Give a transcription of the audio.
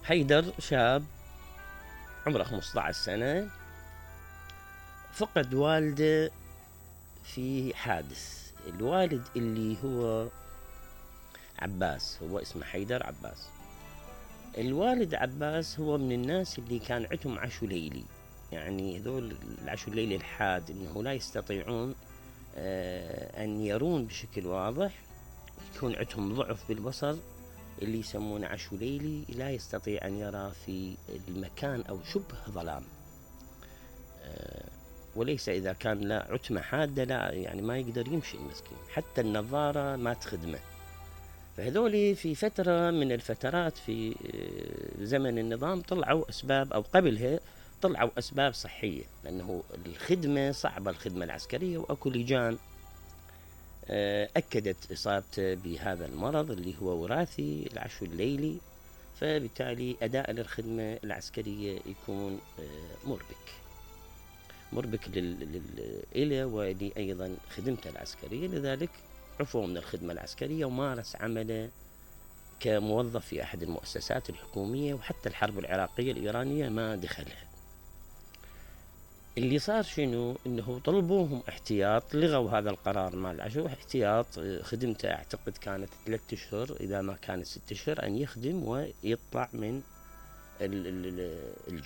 حيدر شاب عمره 15 سنة، فقد والده في حادث. الوالد اللي هو عباس، هو اسمه حيدر عباس. الوالد عباس هو من الناس اللي كان عندهم عشو ليلي، يعني هذول العشو الليلي الحاد، انه لا يستطيعون ان يرون بشكل واضح، يكون عندهم ضعف بالبصر اللي يسمونه عشو ليلي، لا يستطيع ان يرى في المكان او شبه ظلام، وليس اذا كان لا عتمة حادة لا، يعني ما يقدر يمشي المسكين، حتى النظارة ما تخدمه. فهذول في فترة من الفترات في زمن النظام طلعوا أسباب، أو قبلها طلعوا أسباب صحية، لأنه الخدمة صعبة، الخدمة العسكرية، وأكو لجان أكدت إصابته بهذا المرض اللي هو وراثي، العشو الليلي، فبالتالي أداء للخدمة العسكرية يكون مربك إله ولي أيضا خدمته العسكرية، لذلك عفوا من الخدمة العسكرية ومارس عمله كموظف في أحد المؤسسات الحكومية، وحتى الحرب العراقية الإيرانية ما دخلها. اللي صار شنو؟ إنه طلبوهم احتياط، لغوا هذا القرار مال العشو، احتياط خدمته أعتقد كانت 3 أشهر إذا ما كانت 6 أشهر، أن يخدم ويطلع من الجيش.